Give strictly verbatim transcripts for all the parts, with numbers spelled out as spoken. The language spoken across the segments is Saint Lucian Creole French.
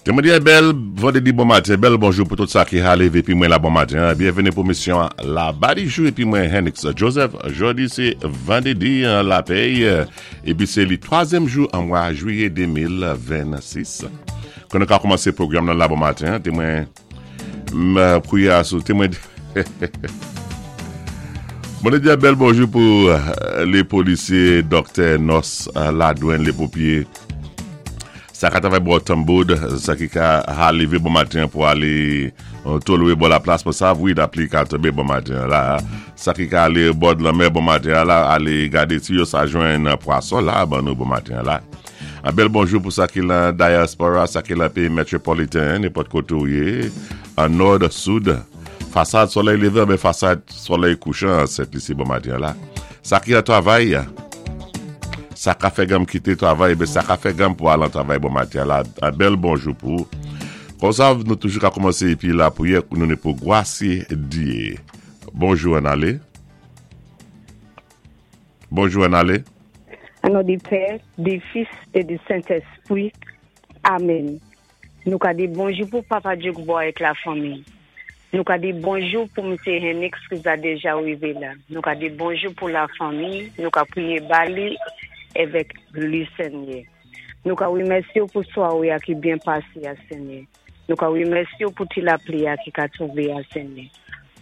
Té mwen di bèl vandédi bon maten, bèl bonjou pou tout sa ki ka lévé épi mwen la bon maten. Byenvini pou émisyon La Di Jou épi mwen Henix Joseph. Jodi sé vandédi la péy épi sé li twazyèm jou an mwa jwiyé de mil vennsis. Kon nou ka kòmansé pwogram nan la bon maten, té mwen kwiyé sou té mwen Mwen di bèl bonjou pou lé polisyé, dòktè, nòs, ladwann, lé ponpyé, sa ka travay bò Tamboud, sa ki ka ka lévé bon maten pou alé tolwé bò la plas pou sa wi lapli ka tonbé bon maten la. Sa ki ka alé bò lanmè bon maten la, alé gadé si yo sa jwenn pwason la, ban nou bon maten la. An bèl bonjou pou sa ki lan dyaspora, sa ki lan péyi metwopoliten, nenpòt koté ou yé, an nò, sid, fasad solèy lévan, men fasad solèy kouchan, Sent Lisi bon maten la. Sa ki an travay, sa ka fè ganm kité travay, ben sa ka fè ganm pou al an travay bon maten la. An bèl bonjou pou. Kon sa, nou toujou ka kòmansé épi lapriyè, nou né pou gwasé Dyé. Bonjou an alé. Bonjou an alé. An non di Pè, di Fis é di Sentespwi. Amen. Nou ka di bonjou pou Papa Djoukbo avèk la fanmi. Nou ka di bonjou pou Msye Henix ki za déja wivé la. Nou ka di bonjou pou la fanmi. Nou ka priyé ba li avèk li, Senyè. Nou ka wimèsyé pou swawé a ki byen pasé a, Senyè. Nou ka wimèsyé pou ti lapli a ki ka tonbé a, Senyè.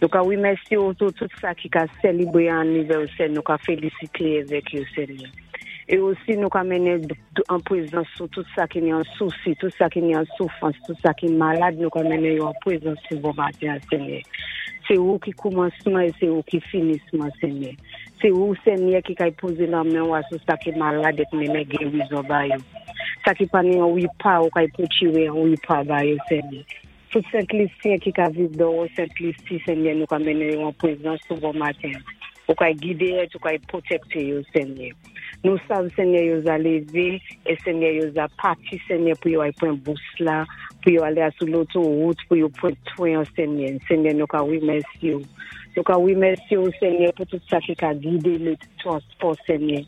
Nou ka wimèsyé pou tout sa ki ka sélébré anivèsè. Nou ka félisité avèk yo, Senyè. É osi nou ka mennen an pwézans sou tout sa ki ni an sousi, tout sa ki ni an soufrans, tout sa ki malad, nou ka mennen yo an pwézans sou bon maten, Senyè. Sé ou ki koumansman é sé ou ki finisman, Senyè. Sé ou, Senyè, ki kay pozé lanmen ou sou sa ki malad é mennen gérizon ba yo. Sa ki pa ni an wipa ou kay pwokiwé an wipa ba yo, Senyè. Tout Sent Lisyen ki ka viv dò Sent Lisi, Senyè, nou ka mennen yo an pwézans sou bon maten. Ou kay gidé ou kay pwotékté yo, Senyè. Nou sav, Senyè, yo za lévé, é Senyè, yo za pati, Senyè, pou yo ay pran bous la, pou yo alé sou lotowout, pou yo pran twen, Senyè. Senyè, nou ka wimèsyé ou. Nou ka wimèsyé ou, Senyè, pou tout sa ki ka gidé lé transpò, Senyè.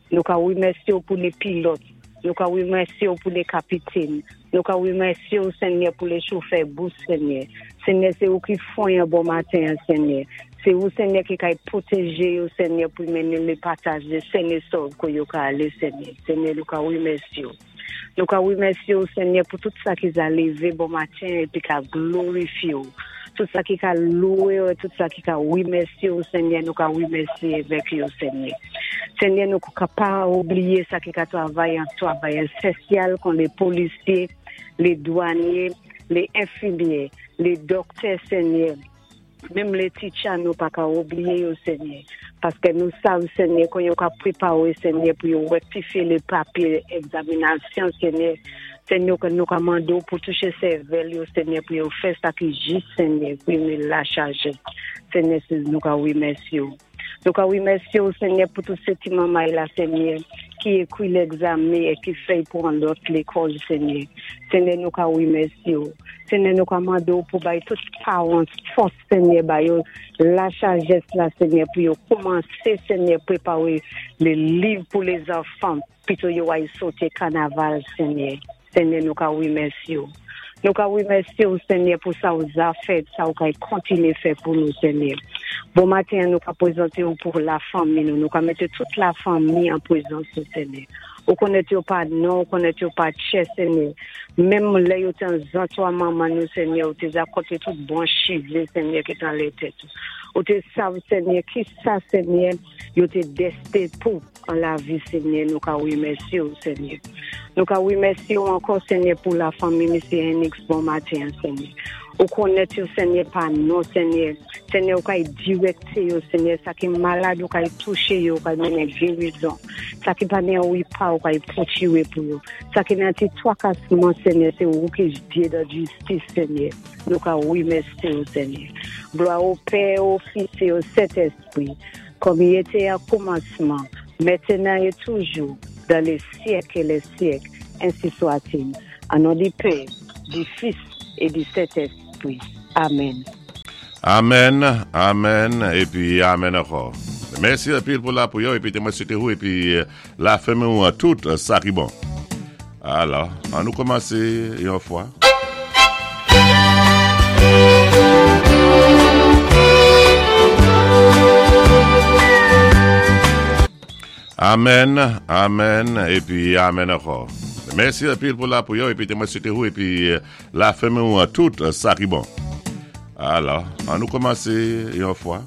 Nou ka wimèsyé ou pou lé pilòt. Nou ka wimèsyé ou pou lé kapitèn. Nou ka wimèsyé ou, Senyè, pou lé chofè bous, Senyè. Senyè, sé ou ki fonyen bon maten, Senyè. Sé ou, Senyè, ki kay pwotéjé yo, Senyè, pou mennen lé pasajé sen é sòv ke yo ka alé, Senyè. Senyè, nou ka wimèsyé ou. Nou ka wimèsyé ou, Senyè, pou tout sa ki za lévé bon maten épi ka glorifyé ou. Tout sa ki ka louwé ou, tout sa ki ka wimèsyé ou, Senyè, nou ka wimèsyé avèk yo, Senyè. Senyè, nou ka pa oubliyé sa ki ka travay an travay ésansyèl kon lé polisyé, lé dwanyé, lé enfimyé, lé dòktè, Senyè. Menm lé teacher nou pa ka oubliyé yo, Senyè. Paské nou sav, Senyè, kon yo ka pwépawé, Senyè, pou yo wèktifyé lé papyé egzaminasyon, Senyè. Senyè, ke nou ka mandé ou pou touché sèvèl yo, Senyè, pou yo fè sa ki jis, Senyè, pou yo mé la chaje. Senyè, sé nou ka wimèsyé ou. Nou ka wimèsyé ou, Senyè, pou tout sé ti manmay la, Senyè, ki ékwi légzamen é ki fèy pou an lòt lékòl, Senyè. Senyè, nou ka wimèsyé ou. Senyè, nou ka mandé ou pou bay tout paran fòs, Senyè, ba yo la sajès la, Senyè, pou yo kòmansé, Senyè, pwépawé lé liv pou lé zanfan, pito yo ay soté kanaval, Senyè. Senyè, nou ka wimèsyé ou. Nou ka wimèsyé ou, Senyè, pou sa ou za fèt, sa ou kay kontiné fè pou nou, Senyè. Bon maten, nou ka pwézanté ou pou la fanmi nou. Nou ka mété tout la fanmi an pwézans ou, Senyè. Ou konnèt yo pa non, ou konnèt yo pa tchè, Senyè. Menm lè yo té an zantray manman nou, Senyè, ou té za konté tout bon chivé, Senyè, ki té anlè tèt. Ou té sav, Senyè, ki sa, Senyè, yo té desten pou an lavi, Senyè, nou ka wimèsyé ou, Senyè. Nou ka wimèsyé ou ankò, Senyè, pou la fanmi Msye Henix, bon maten, Senyè. Ou konnèt yo, Senyè, pa non, Senyè. Senyè, ou kay direkté yo, Senyè, sa ki malad, ou kay touché yo, ou kay mennen gérizon. Sa ki pa ni an wipa, ou kay pwokiwé pou yo. Sa ki nan ti twakasman, Senyè, sé ou ki Dye de jistis, Senyè. Nou ka wimèsyé ou, Senyè. Glwa o Pè, o Fis é o Sentespwi, kòm i été an koumansman, mentenan é toujou, dan lé syèk é lé syèk, ensi swa-t-il. An non di Pè, di Fis é di Sentespwi. Amen. Amen, amen, épi amen ankò. Mèsi anpil pou lapriyè, épi té mwen swété ou, épi la fanmi ou an tout sa ki bon. Alò, an nou kòmansé yon fwa. Amen, amen, épi amen ankò. Mèsi anpil pou lapwiyè épi mwen swété ou épi lafanmi ou tout sa ki bon. Alò, an nou kòmansé yon fwa.